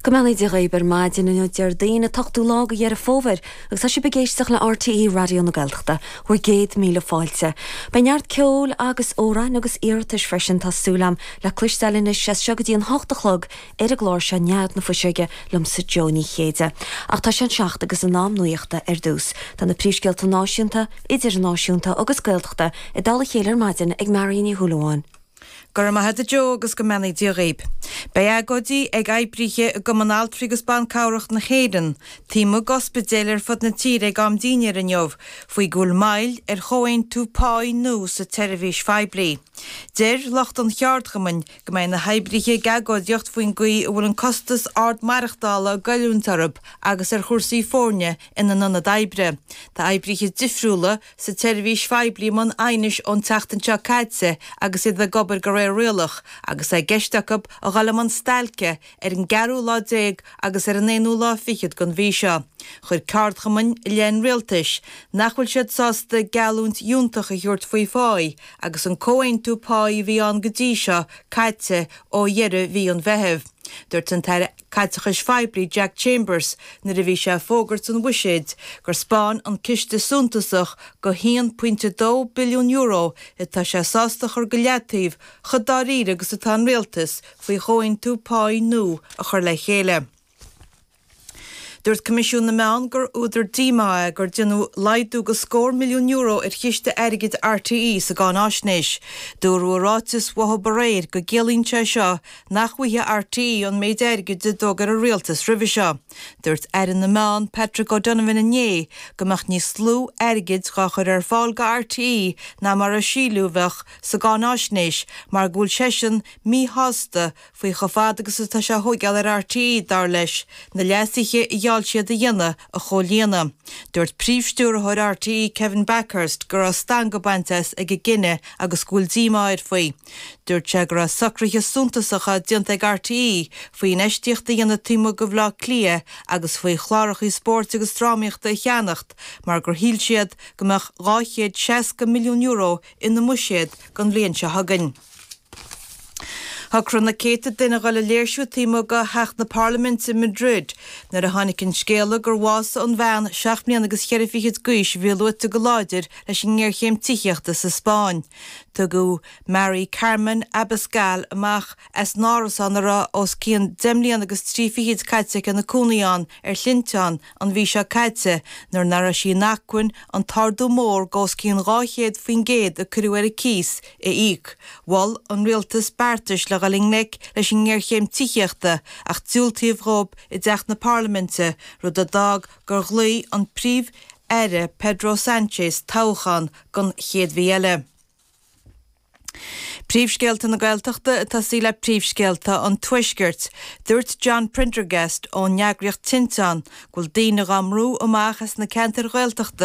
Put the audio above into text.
Go mbeannaí Dia dhaoib ar maidin inniu Déardaoin an t-ochtú lá de Dheireadh Fómhair agus tá sibh ag éisteacht le RTÉ Raidió na Gaeltachta, bhur gcéad míle fáilte. Beidh neart ceoil agus amhráin agus iarratais freisin tá súil a'm le cloisteáil anois as seo go dtí an hocht a chlog ar an gclár seo Nead na Fuiseoige liomsa Jó Ní Chéide. Ach tá sé an seacht agus an am nuachta ar dtús. Tá na príomhscéalta náisiúnta, idirnáisiúnta agus Gaeltachta i dtoll a chéile ar maidin ag Marion Ní Shúilleabháin. Go raibh maith agat a Joe agus go mbeannaí Dia dhaoib. Beidh agóidí ag oibrithe i gCumann Altraí agus Ban Cabhrach na hÉireann taobh amuigh d'ospidéil ar fud na tíre ag am dinnéir inniu faoi go bhfuil moill ar chomhaontú páí nua sa tseirbhís phoiblí. Deir lucht an cheardchumainn go mbeidh na hoibrithe ag agóidíocht faoin gcaoi a bhfuil an costas ard maireachtála ag goilliúint orthu agus ar chúrsaí foirne ina n-ionad oibre. Tá oibrithe difriúla sa tseirbhís phoiblí i mbun aighnis ón tseachtain seo caite agus iad ag obair de réir rialach agus é i gceist acu a dhul i mbun stailce ar an gceathrú lá déag agus ar an aonú lá fichead den mhí seo. Chuir ceardchumainn i leith an rialtais nach bhfuil siad sásta geallúint fhiúntach a thabhairt faoi pháí agus an comhaontú páí a bhí ann go dtí seo caite ó dheireadh mhí an Mheithimh. Dúirt an tAire Caiteachais Phoiblí Jack Chambers nuair a bhí sé ag fógairt an bhuiséid gur 'spáin an ciste suntasach de €1.2 billiún atá sé sásta a chur go leataobh chomh dáiríre agus atá an rialtas faoi chomhaontú páí nua a chur le chéile. Dúirt Coimisiún na Meán gur údar díomá é gur déanadh laghdú de scór milliún euro ar chiste airgid RTÉ sa gcáináisnéis. Dúradh i ráiteas uathu aréir go gciallaíonn sé seo nach bhfaighidh RTÉ an méid airgid a d'fhógair an rialtas roimhe seo. Dúirt Aire na Meán Patrick O'Donovan inné go mbeadh níos lú airgid dhá chur ar fáil go RTÉ ná mar a síleadh a bheadh sa gcáináisnéis mar go bhfuil seisean míshásta faoi chomh fada agus atá sé a thóigeáil ar RTÉ, dar leis, na leasuithe a gheall siad a dhéanamh a chomhlíonadh. Dúirt Príomh-Stiúrthóir RTÉ Kevin Bakhurst go raibh stangadh bainte as ag an gcinneadh agus go bhfuil díomá air faoi. Dúirt sé go raibh socruithe suntasacha déanta ag RTÉ faoi infheistíocht a dhéanamh taobh amuigh de Bhaile Átha Cliath agus faoi chláracha spóirt agus drámaíochta a cheannacht mar gur shíl siad go mbeadh €260 milliún ina mbuiséad don bhliain seo chugainn. Shocraigh na céadta duine a dhul ag léirsiú taobh amuigh de theach na Parlaiminte i Madrid nuair a tháinig an scéala gur bhásaigh an bhean seacht mbliana agus cheithre fichid d'aois a bhí luaite go láidir leis an ngéarchéim tithíochta sa Spáinn. Tugadh Mari Carmen Abascal amach as an árasán a raibh os cionn deich mbliana agus trí fichid caite aici ina cónaí ann ar shlinnteán an mhí seo caite nuair nach raibh sí in acmhainn an t-ardú mór de os cionn 200% a cuireadh ar a cíos a íoc. Mhol an rialtas beartais le dhul i ngleic leis an ngéarchéim tithíochta ach diúltaíodh dhóibh i dteach na parlaiminte, rud a d'fhág gur ghlaoigh an Príomh-Aire Pedro Sánchez toghchán don chéad mhí eile. Príomhscéalta na Gaeltachta ag tosaí le príomhscéalta an Tuaiscirt. Dúirt John Prendergast ón eagraíocht Tinteán go bhfuil daoine dhá mbrú amach as na ceantair Ghaeltachta.